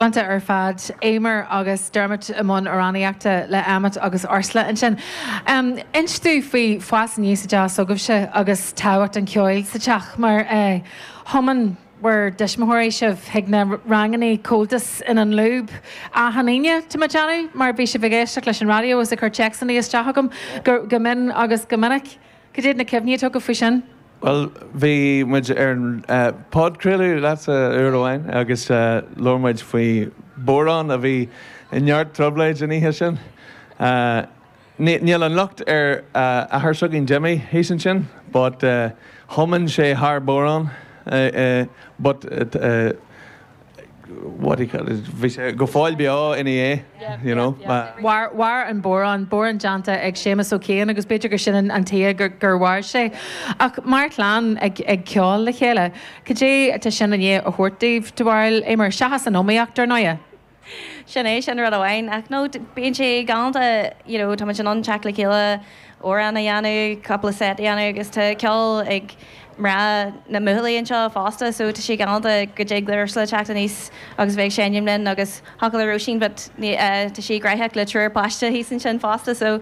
Galánta ar fad. Eimear agus Dermot i mbun amhránaíochta le Emmet agus Ursula ansin. Inis domh faoi fás aníos i dteach s'agaibhse agus tábhacht an cheoil sa teach mar thiomáin bhur dtuismitheoirí sibh chuig na rangannaí Comhaltas in An Lúb achan Aoine, tá mé ag déanamh, mar bhí sibh ag éisteacht leis an raidió agus ag cur téacsanna isteach chugam go mion agus go minic. Cad iad na cuimhní atá agaibh faoi sin? Bhuel, bhí muid ar an podchraoladh leatsa uair amháin agus labhair muid faoi bodhrán a bhí i neart trioblóid an oíche sin. Níl an locht ar athair s'againn Jimmy thíos ansin but thiomáin sé thar bodhrán but what do you call it, bhí sé go fóill beo ina dhiaidh, you know. Mhair an bodhrán, bodhrán déanta ag Séamus Ó Ciain agus b'fhéidir gur sin an tuige gur mhair sé. Ach mar chlann ag ceol le chéile, cad é atá sin i ndiaidh a thabhairt daoibh, do bharúil, Eimear, seachas an iomaíocht, ar ndóighe? Sin é, sin rud amháin. Ach no, bíonn sé galánta, you know, tá muid in ann teacht le chéile, amhrán a dhéanamh, cúpla set a dhéanamh agus tá ceol ag mná na mbuachaillí anseo fosta so tá sé galánta go dtig le Ursula teacht aníos agus bheith ag seinm linn agus thiocfadh le Róisín but tá sí graitheach le triúr páiste thíos ansin fosta so.